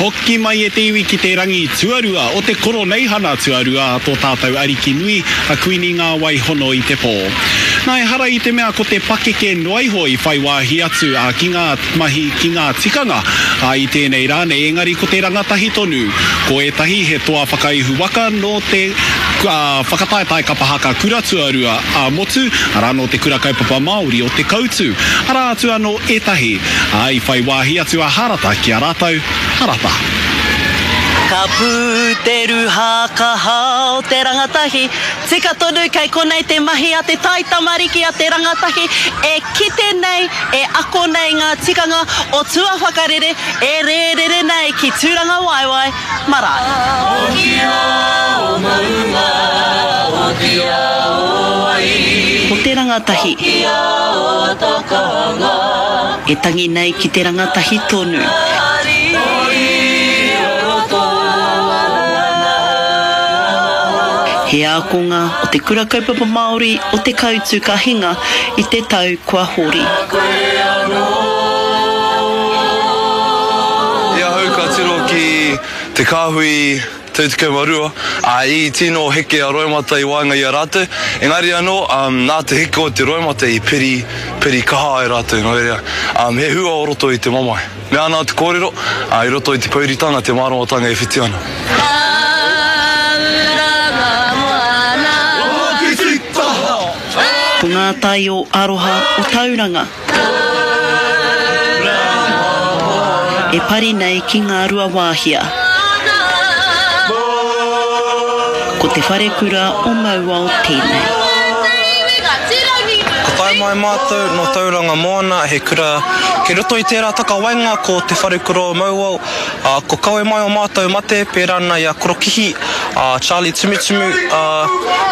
Hoki mai e te iwi ki te rangi tuarua o te Koroneihana tuarua a tō tātou Ariki nui, a Kuini Ngā Wai Hono i te Pō. Nā, ehara i te mea ko te pakeke noa iho i whai wāhi atu a ki ngā mahi, ki ngā tikanga a i tēnei rā nei, engari ko te rangatahi tonu. Ko ētahi he toa whakaihu waka nō te whakataetae kapa haka kura tuarua ā-motu, arā nō te Kura Kaupapa Māori o Te Koutu. Arā atu anō ētahi. Ā, i whai wāhi atu a Harata ki a rātou, Harata. Ka pū te ruha ka hao te rangatahi, tika tonu kei konei te mahi a te taitamariki a te rangatahi e kite nei, e ako nei ngā tikanga o tua whakarere e rērere nei ki Tūrangawaewae marae. Hokia o maunga, hokia o wai. Ko te rangatahi. Hokia o takanga. E tangi nei ki te rangatahi tonu. He ākonga o Te Kura Kaupapa Māori o Te Kautu ka hinga i te tau kua hori. I ahau ka tiro ki te kāhui 32, ā, i tino heke a Roimata i waenga i a rātou, engari anō, nā te heke o te roimata i piri, piri kaha ai rātou, nō reira, he hua o roto i te mamae. Mea ana te kōrero, ā, i roto i te pouritanga te māramatanga e whiti ana. Ko ngā tai o aroha o Tauranga. E pari nei ki Ngāruawāhia. Ko te wharekura o Mauao tēnei. Ko tae mai mātou nō Tauranga Moana, he kura kei roto i tērā takawaenga ko Te Wharekura o Mauao, ā, ko kawe mai o mātou mate pērā ana i a Korokihi, a Charlie Tumutumu, ā,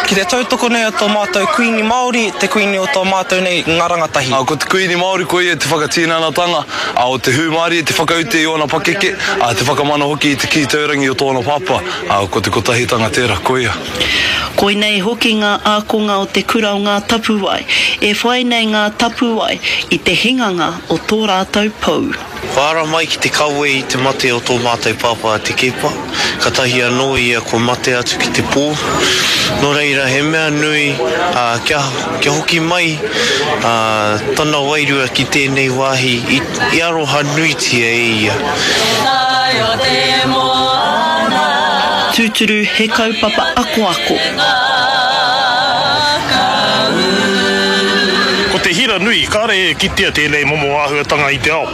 ki te tautoko nei a tō mātou Kuini Māori, te Kuini o tō mātou nei ngā rangatahi. Ā, ko te Kuini Māori koia te whakatinanatanga, ā, o te hūmārie, te whakaute i ōna pakeke, ā, te whakamana hoki i te kī taurangi o tōna pāpā, ā, ko te kotahitanga tērā, koia. Koinei hoki ngā ākonga o te kura o Ngā Tapuwae, e whai nei ngā tapuwae i te hinganga o tō rātou pou. Kua ara mai ki te kawe i te mate o tō mātou pāpā a Te Keepa, katahi anō ia kua mate atu ki te pō. Nō reira, he mea nui kia, kia hoki mai tana wairua ki tēnei wāhi i, i aroha nuitia e ia. Tūturu he kaupapa akoako. Ko te hira nui, kāre e kitea tēnei momo āhuatanga i te ao.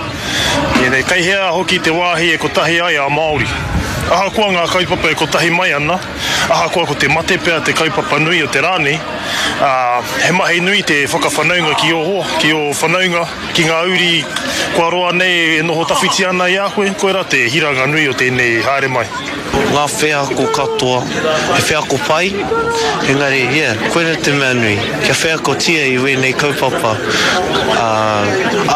Ēnei, kei hea hoki te wāhi e kotahi ai a Māori. Ahakoa ngā kaupapa e kotahi mai ana, ahakoa ko te mate pea te kaupapa nui o te rā nei, ā, he mahi nui te whakawhanaunga ki ō hoa, ki ō whanaunga, ki ngā uri kua roa nei e noho tawhiti ana i a koe, koirā te hiranga nui o tēnei haere mai. Ngā wheako katoa, he wheako pai, engari, yeah, koira te mea nui, kia wheakotia i wēnei kaupapa, ā,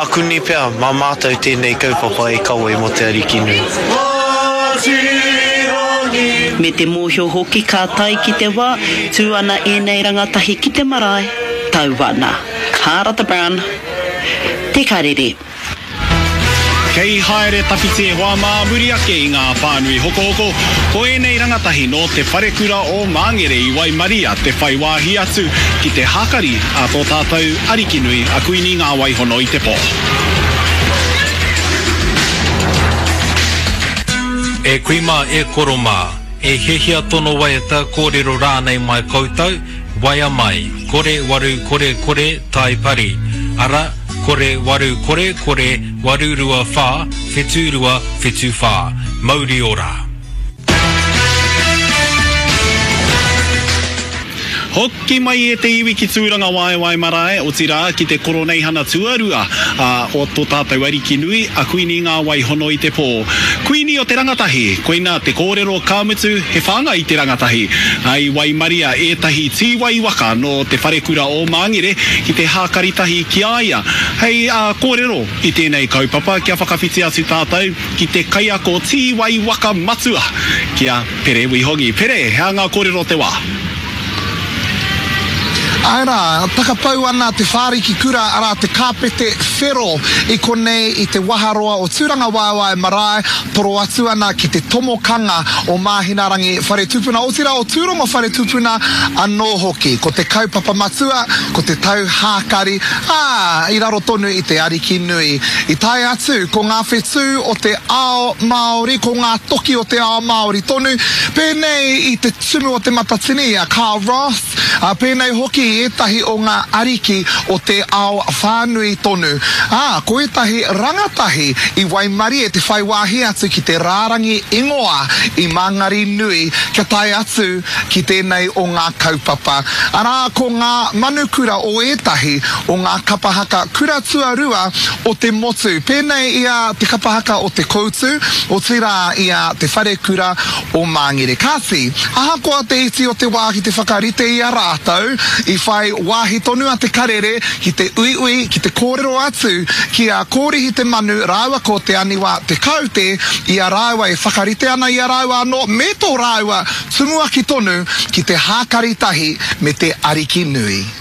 ākuni pea mā mātou tēnei kaupapa e kawe mō Te Arikinui. Me te mōhio hoki ka tae ki te wā, tū ana ēnei rangatahi ki te marae, tau ana. Hārata Brown, Te Karere. Kei haere tawhiti e hoa mā muri ake i ngā pānui hokohoko, ko ēnei rangatahi nō Te Wharekura o Māngere i waimaria te whai wāhi atu ki te hākari a tō tātou Arikinui a Kuini Ngāwaihono i te pō. E kui mā, e koro mā, e hiahia tono waiata, kōrero rānei mai koutou, waea mai, kore waru kore kore tai pari, ara, Kore waru kore kore waru rua wha whitu rua whitu wha. Mauri ora. Hoki mai e te iwi ki Tūrangawaewae marae, otirā ki te Koroneihana tuarua o to tātou Ariki nui, a Kuini Ngā Wai Hono i te Pō. Kuini o te rangatahi, koina te kōrero ka mutu he whāngai i te rangatahi. I waimaria ētahi tīwai waka nō te wharekura o Māngere ki te hākari tahi ki a ia. Hei kōrero i tēnei kaupapa kia whakawhiti atu tātou ki te kaiako tīwai waka matua ki a Pere Wihongi. Pere, he aha ngā kōrero o te wā? Āe rā, takapau ana te whāriki kura, arā te kāpete whero i konei i te waharoa o Tūrangawaewae marae, toro atu ana ki te tomokanga o Māhinarangi whare tupuna, otirā o Tūrongo whare tupuna anō hoki. Ko te kaupapa matua, ko te tau hākari, ā, i raro tonu i te Ariki nui. I tae atu ko ngā whetū o te ao Māori, ko ngā toki o te ao Māori tonu, pēnei i te Tumu o Te Matatini, a Carl Ross, ā, pēnei hoki i ētahi o ngā ariki o te ao whānui tonu. Ā, ko ētahi rangatahi i waimarie te whai wāhi atu ki te rārangi ingoa i Māngari nui kia tae atu ki tēnei o ngā kaupapa. Arā, ko ngā manukura o ētahi o ngā kapa haka kura tuarua o te motu, pēnei i a Te Kapa Haka o Te Koutu, otirā i a Te Wharekura o Māngere. Kāti, ahakoa te iti o te wā ki te whakarite i a rātou, i whai wāhi tonu a Te Karere ki te uiui, ki te kōrero atu ki a Kōrihi Te Manu rāua ko Te Aniwa Te Kaute i a rāua e whakarite ana i a rāua anō me tō rāua tumuaki tonu ki te hākari tahi me te Ariki Nui.